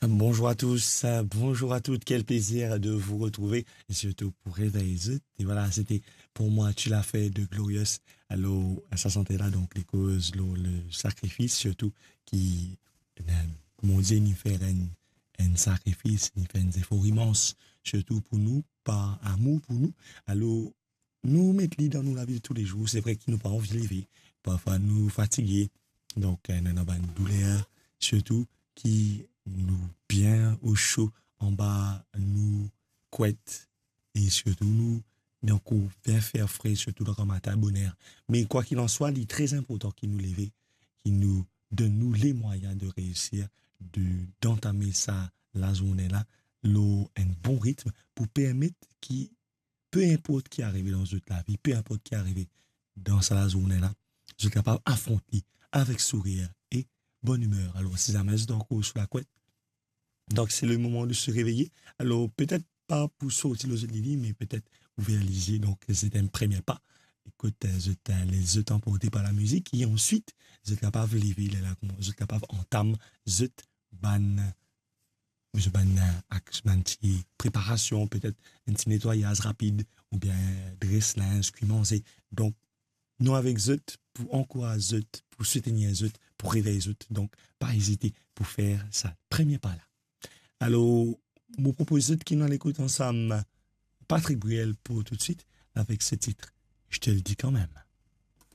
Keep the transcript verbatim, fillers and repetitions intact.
Bonjour à tous, euh, bonjour à toutes, quel plaisir de vous retrouver, et surtout pour réveiller zot. Et voilà, c'était Pour moi tu l'as fait de Glorious. Alors, sa sante la, donk, li koz lor le sakrifis, sirtou ki, eh, Bondie inn fer enn, enn sakrifis, inn fer enn zefor imans, sirtou pou nou, par amour pou nou. Alor, nou met li dan nou lavi de toulezour. Se vre ki nou pa anvi leve, parfwa nou fatige, donk, eh, nou ena bann douler, sirtou ki nou bien oso anba nou kwet, e sirtou nou, nou ankor bien fer fre, sirtou dan gramatin boner. Me kwa kil an swa, li tre inportan ki nou leve, ki nou donn nou lemwayin de reisir, de, dantame sa lazourne la lor enn bon ritm pou permet ki, pe inport ki arive dan zot lavi, pe inport ki arive dan sa lazourne la, zot kapav afront li avek sourir e bonn imer. Alor, si zame zot ankor sou lakwet, donk, c'est le moment de se réveiller. Alor, petet pa pou sorti lor zot lili, me petet ouver lizie. Donk, se enn premie pa. Ekout, eh, zot, eh, les zot anporte par la mizik, e answit, zot kapav leve, lerla kouma zot kapav antam zot bann, zot bann, eh, ak-, bann ti preparasion, petet enn ti netwayaz rapid, oubien dres linz, kwi manze. Donk, nou avek zot pou ankouraz zot, pou soutenir zot, pou revey zot. Donk, pa ezite pou fer sa premie pa la. Alor, mo propoz zot ki nou al ekout ansam Patrick Bruel pou toutswit avek se tit Je te le dis quand même.